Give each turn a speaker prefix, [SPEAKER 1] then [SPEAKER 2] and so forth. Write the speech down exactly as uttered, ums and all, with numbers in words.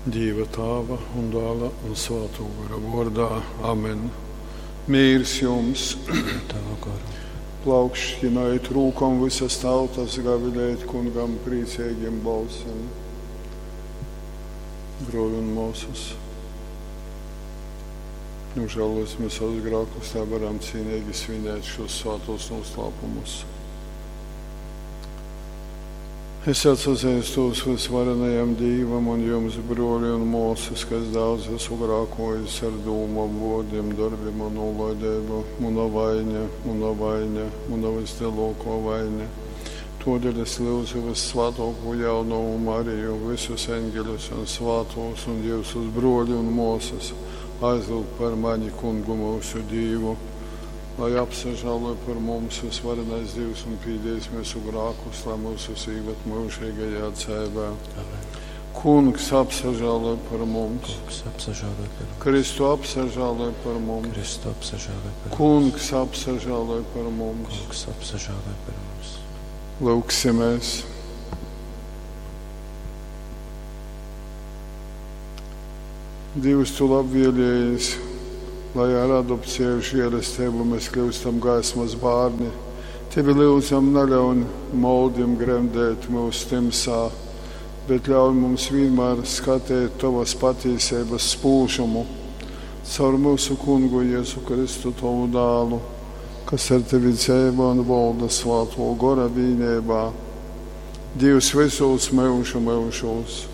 [SPEAKER 1] Dīva Tāva un Dāla un Svātō Gora vōrdā. Amen. Mīrs jums!
[SPEAKER 2] Ar tavu goru.
[SPEAKER 1] Plaukškinojit rūkom visas tautas, gavilējit kungam priecīgiem balsim. Brōļi un māsas, nožēlosim savus grēkus, lai varam cīnīgi svinēt šos svētos noslēpumus. Es atsazīstos visvarenajam Dīvam un jums, brōļi un māsas, kas daudz esmu grēkojis ar dūmām, vārdiem, darbiem un nolaidību. Muna vaina, muna vaina, muna vislielākā vaina. Todēļ es lūdzu vissvētāko jaunavu Mariju, visus eņģeļus un svātos un jūsus brōļi un māsas aizlūgt par mani kungu mūsu Dīvu, lai apsažāloj par mums visvarenais Dievs un pīdējis mūsu grākus, lai mūsus īvet mūžīgajā dzēvē.
[SPEAKER 2] Amen.
[SPEAKER 1] Kungs apsažāloj par mums,
[SPEAKER 2] Kungs apsažāloj par mums.
[SPEAKER 1] Kristu apsažāloj par mums,
[SPEAKER 2] Kristu apsažāloj par mums.
[SPEAKER 1] Kungs apsažāloj par mums.
[SPEAKER 2] Kungs apsažāloj par mums.
[SPEAKER 1] Lūksimies! Dievs, tu labvēlījies, lai ar adopciju žēlastību mēs kļūstam gaismas bērni. Tevi lūdzam, neļauj moldim gremdēt mūs timsā, bet ļauj mums vienmēr skatīt tavas patīsības spūžumu caur mūsu kungu Jēzu Kristu, tavu dālu, kas ar tevi dzīvo un valda svāto gora vīnībā. Dievs visos mūžu mūžos.